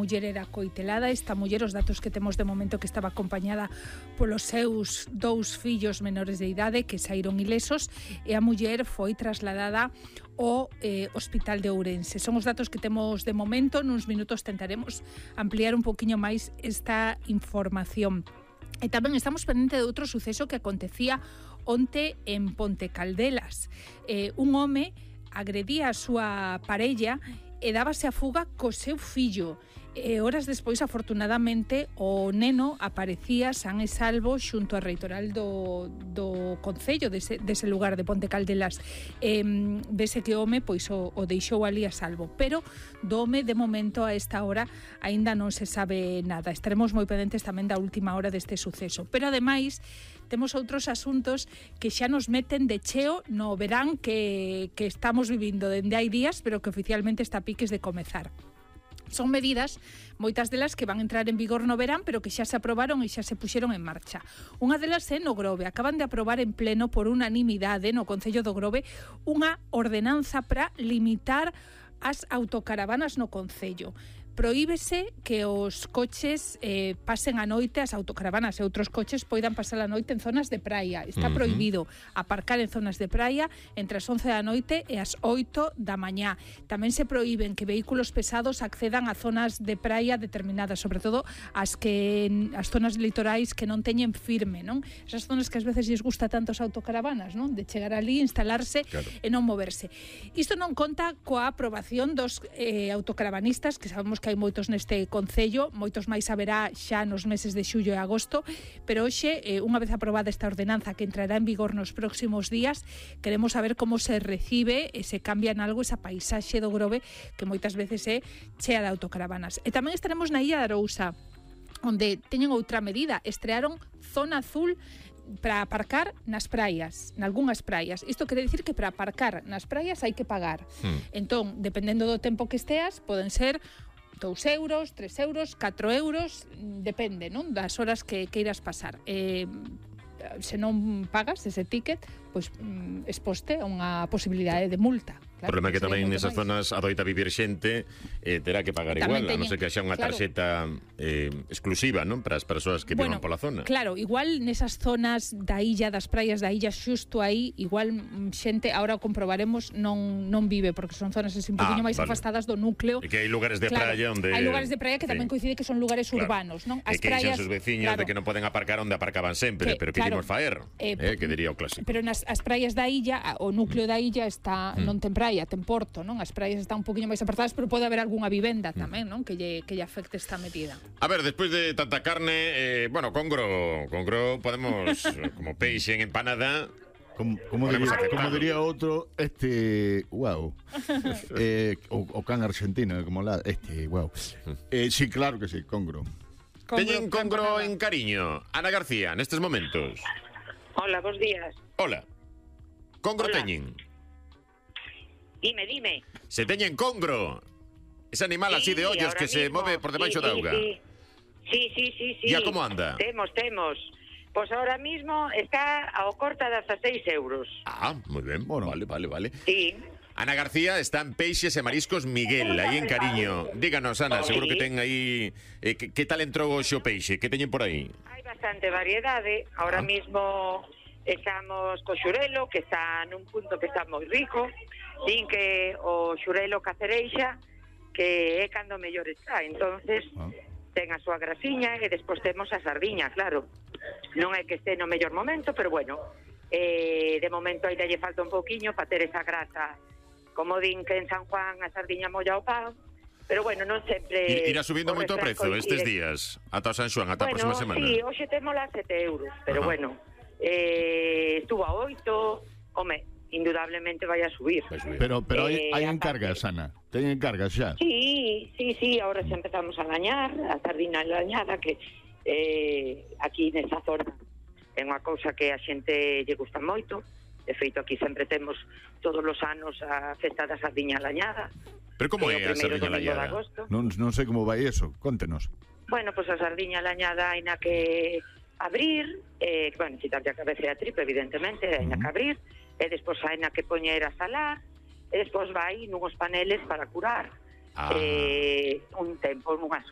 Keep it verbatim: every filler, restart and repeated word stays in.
muller era coitelada. Esta muller, os datos que temos de momento, que estaba acompañada polos seus dous fillos menores de idade que saíron ilesos, e a muller foi trasladada ao eh, Hospital de Ourense. Son os datos que temos de momento. Nuns minutos tentaremos ampliar un poquinho máis esta información. E tamén estamos pendente de outro suceso que acontecía onte en Ponte Caldelas. Eh, un home agredía a súa parella e dábase a fuga co seu fillo. E horas despois, afortunadamente, o neno aparecía san e salvo xunto á reitoral do, do concello dese, dese lugar de Ponte Caldelas. E, vese que o home pois, o, o deixou ali a salvo, pero do home, de momento, a esta hora aínda non se sabe nada. Estaremos moi pendentes tamén da última hora deste suceso. Pero, ademais, temos outros asuntos que xa nos meten de cheo no verán que, que estamos vivindo dende hai días, pero que oficialmente está a piques de comezar. Son medidas, moitas delas que van entrar en vigor no verán, pero que xa se aprobaron e xa se puxeron en marcha. Unha delas é no Grove. Acaban de aprobar en pleno por unanimidade no Concello do Grove unha ordenanza para limitar as autocaravanas no Concello. Prohíbese que os coches eh, pasen a noite, as autocaravanas e outros coches poidan pasar a noite en zonas de praia. Está uh-huh. prohibido aparcar en zonas de praia entre as once da noite e as oito da mañá. Tamén se prohíben que vehículos pesados accedan a zonas de praia determinadas, sobre todo as que as zonas litorais que non teñen firme, non? Esas zonas que ás veces lles gusta tanto as autocaravanas, non? De chegar ali, instalarse claro. e non moverse. Isto non conta coa aprobación dos eh, autocaravanistas, que sabemos que hai moitos neste concello, moitos máis haberá xa nos meses de xullo e agosto, pero hoxe, eh, unha vez aprobada esta ordenanza que entrará en vigor nos próximos días, queremos saber como se recibe e se cambia en algo esa paisaxe do Grove que moitas veces é chea de autocaravanas. E tamén estaremos na Illa de Arousa, onde teñen outra medida. Estrearon zona azul para aparcar nas praias, nalgúnas praias. Isto quere dicir que para aparcar nas praias hai que pagar. Hmm. Entón, dependendo do tempo que esteas, poden ser dous euros, tres euros, catro euros, depende, non? Das horas que queiras pasar. Eh, se non pagas ese ticket, pois exposte a unha posibilidade de multa. O problema é que tamén nesas zonas adoita vivir xente eh, terá que pagar igual, a non ser que xa unha tarxeta eh, exclusiva, non? Para as persoas que vivan pola zona. Claro, igual nesas zonas da illa, das praias da illa, xusto aí, igual xente, ahora o comprobaremos, non non vive, porque son zonas así un poquinho ah, máis vale. afastadas do núcleo. E que hai lugares de claro, praia onde... Hai lugares de praia que tamén sí. coincide que son lugares claro. urbanos, non? As e que praias, sus veciños claro. de que non poden aparcar onde aparcaban sempre, que, pero que claro, imos faer, eh, eh, que diría o clásico. Pero nas as praias da illa, o núcleo da illa está mm. non ten praia, ten porto, non? As praias están un poquinho máis apartadas, pero pode haber algunha vivenda tamén, non? Que lle, que lle afecte esta medida. A ver, despois de tanta carne, eh, bueno, congro, congro podemos, como peixe en empanada... Como, como, diría, como diría outro, este, wow. eh, o, o can argentino, como la, este, wow. Eh, sí, claro que sí, congro. Teñen congro en Cariño. Ana García, nestes momentos. Hola, bos días. Hola. Congro Hola. teñen. Dime, dime. Se teñen congro. Ese animal sí, así de ollos que mismo, se move por debaixo sí, da auga. Sí, sí, sí, sí, sí. ¿Y a cómo anda? Temos, temos. Pois pues ahora mismo está ao corta de dezaseis euros. Ah, moi ben. Bueno, vale, vale, vale. Sí. Ana García está en Peixes e Mariscos Miguel, aí en Cariño. Díganos, Ana, seguro que ten aí... Eh, que, que tal entrou hoxe o peixe? Que teñen por aí? Hai bastante variedade. Ahora ah. mismo estamos co xurelo, que está nun punto que está moi rico. Din que o xurelo cacereixa, que é cando mellor está. Entonces, ah. ten a súa grasiña e despois temos a sardiña, claro. Non é que este no mellor momento, pero bueno, eh, de momento ainda lle falta un pouquiño para ter esa grasa. Como din que en San Juan a sardiña molla o pan, pero bueno, non sempre... Irá subindo moito o prezo estes días, ata o San Xuan, ata bueno, a próxima semana. Sí, hoxe temos a sete euros, pero ajá. bueno, eh, estuvo a oito, home, indudablemente vai a subir. subir. Pero pero hai, hai eh, encargas, Ana, teñen encargas xa? Sí, sí, sí, ahora xa empezamos a lañar, a sardina lañada, que eh, aquí nesa zona é unha cousa que a xente lle gusta moito. De feito, aquí sempre temos todos os anos a festa da sardiña lañada. Pero como é a sardiña lañada? Non, non sei como vai eso, contenos. Bueno, pois pues a sardiña lañada hai na que abrir, eh, bueno, quitarlle a cabeza e a tripa, evidentemente, hai na que abrir, e despois hai na que poñer a salar, e despois vai nunhos paneles para curar ah. eh, un tempo, nunhas